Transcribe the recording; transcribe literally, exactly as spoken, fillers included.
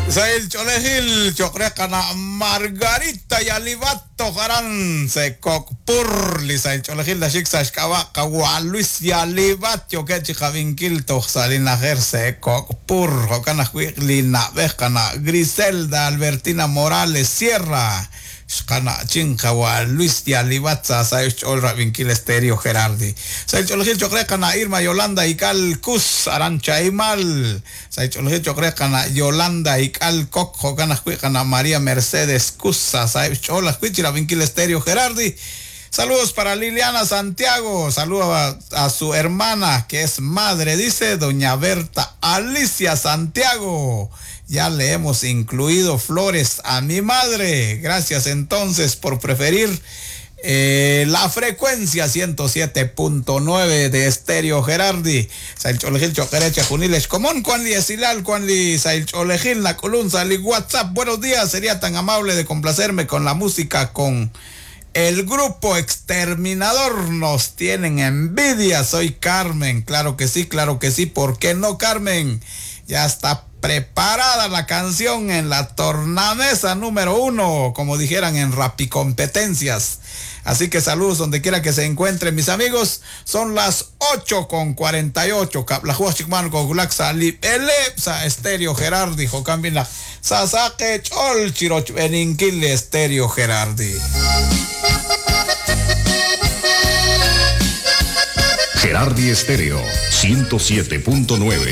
Sahil ch'oolejil cho'q re qana' Margarita Yalibat toj aran Sekokpur li sahil ch'oolejil naxik sa' xk'ab'a' qawa' Luis Yalibat yookeb' chi qab'inkil toj sa' li na'ajej Sekokpur jo'kan ajwi' li na'b'ej qana' Griselda Albertina Morales Sierra xqana'chin qawa' Luis Yalibat sa sahil xch'ool rab'inkil Stereo Gerardi. Sahil ch'oolejil cho'q re qana' Irma Yolanda Ikal Kus aran Chaimal. Sahil ch'oolejil cho'q re qana' Yolanda Ikal Kok jo'kan ajwi' qana' María Mercedes Kus sa sahil xch'ool ajwi' chi rab'inkil Stereo Gerardi. Saludos para Liliana Santiago, saludos a, a su hermana que es madre, dice doña Berta Alicia Santiago. Ya le hemos incluido flores a mi madre. Gracias entonces por preferir eh, la frecuencia ciento siete punto nueve de Estéreo Gerardi. Sahil ch'oolejil cho'q eere chejunilex komon, Juan Li Esilal, Juan Li sahil ch'oolejil, la colunza, li WhatsApp. Buenos días, sería tan amable de complacerme con la música con el grupo Exterminador. Nos tienen envidia. Soy Carmen. Claro que sí, claro que sí. ¿Por qué no, Carmen? Ya está preparada la canción en la tornamesa número uno, como dijeran en Rapicompetencias. Así que saludos donde quiera que se encuentren mis amigos. Son las ocho con cuarenta y ocho. Estéreo Gerardi, Jocambina, Sasake, Chol, Chiroch, Beninquil, Estéreo Gerardi. Gerardi Estéreo, ciento siete punto nueve.